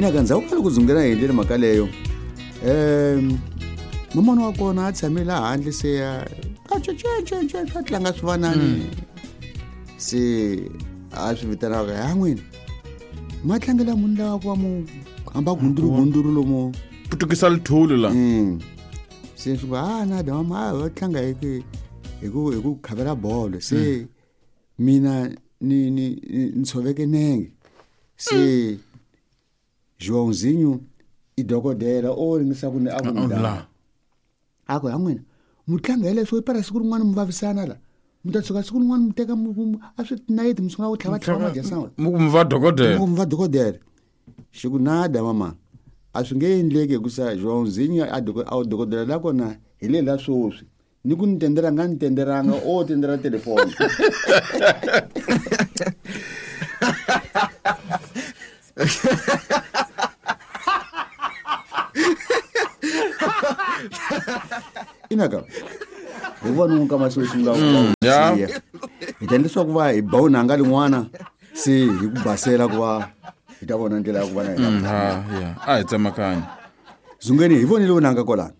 Ina ka ndzhaku ka loko zungela hi endlele mhaka leyo, mamana wa kona a tshame laha handle se a a tlanga swivanani. Se a swi vitanaka ya n'wina ma tlangela munhu lawa ku va mu hamba gunduru gunduru lomu Putukisa lithuli la. Se swi ku a nada mama a va tlanga hi ku hi ku hi ku khavela bolo se mina ni ni ni tshoveke nenge se Joãozinho i dokodela o ringisa ku ni a ku ni La. A ku ya n'wina mu tlanga hi leswo para siku rin'wana mu vavisana la mu ta tshuka siku rin'wana mu teka a swi tinayiti mu sungula ku tlhava tlhava madyasana. Mu ku mi va dokodela. Mu va dokodela. Xi ku nada mama a swi nge endleki hikusa Joãozinho a a dokodela la kona hi le la swoswi ni ku ni tendela nga ni tendelanga o tendela telefoni. Inaka hi vona n'wi kama sweswi nga Ya. Hi ta leswaku va hi ba unanga lin'wana se hi ku basela ku va hi ta vona ndlela ya ku va na hina. Ha ya a hi tsemakanya. Zungeni hi vonile unanga kwalano.